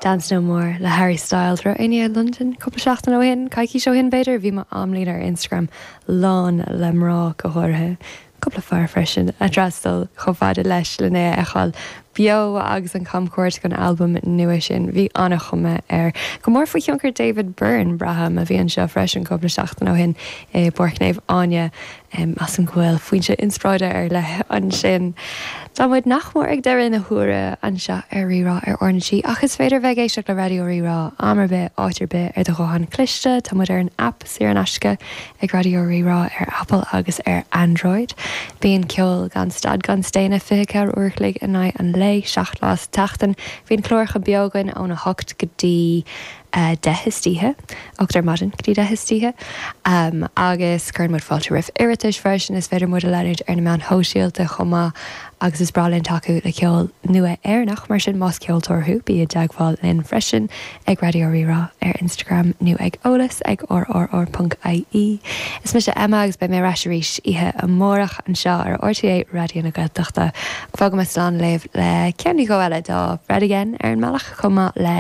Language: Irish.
Dance No More le Harry Styles. Raibh éinne i Londain cúpla seachtain ó shin, coicís ó shin b'fhéidir? Bhí m'amlíne ar Instagram lán le mná go háirithe, cúpla fear freisin, a d'fhreastail chomh fada leis len é a fheiceáil beo agus an camchuairt don albam nua sin. Bhí an-chuma air. Go mór faoi thionchar David Byrne, braithim, a bhí anseo freisin cúpla seachtain ó shin i bPáirc Naomh Áine. Measaim go bhfuil foinse inspioráide ar leith ansin. Tá muid nach mór ag deireadh na huaire anseo ar Rí-Rá ar RnaG ach is féidir bheith ag éisteacht le Raidió Rí-Rá am ar bith, áit ar bith ar do ghuthán cliste. Tá muid ar an aip saor in aisce ag Raidió Rí-Rá ar Apple agus ar Android. Bíonn ceol gan stad gan staonadh 24 uair a chloig in aghaidh an lae, 7 lá sa tseachtain. Bíonn cláracha beo againn óna 8 go dtí 10 istoíche, 8 ar maidin go dtí 10 istoíche, agus cuireann muid fáilte roimh iarratais freisin. Is féidir muid a leanúint ar na meáin shóisialta chomh maith agus is breá linn tacú le ceol nua Éireannach, mar sin más ceoltóir thú, bí i dteagmháil linn freisin ag Raidió Rí-Rá ar Instagram nó ag eolas ag rrr.ie. Is mise Emma agus beidh mé ar ais arís oíche amárach anseo ar RTÉ Raidió na Gaeltachta. Fágfaidh mé slán libh le ceann nó dhó eile de Fred Again ar an mbealach chomh maith le.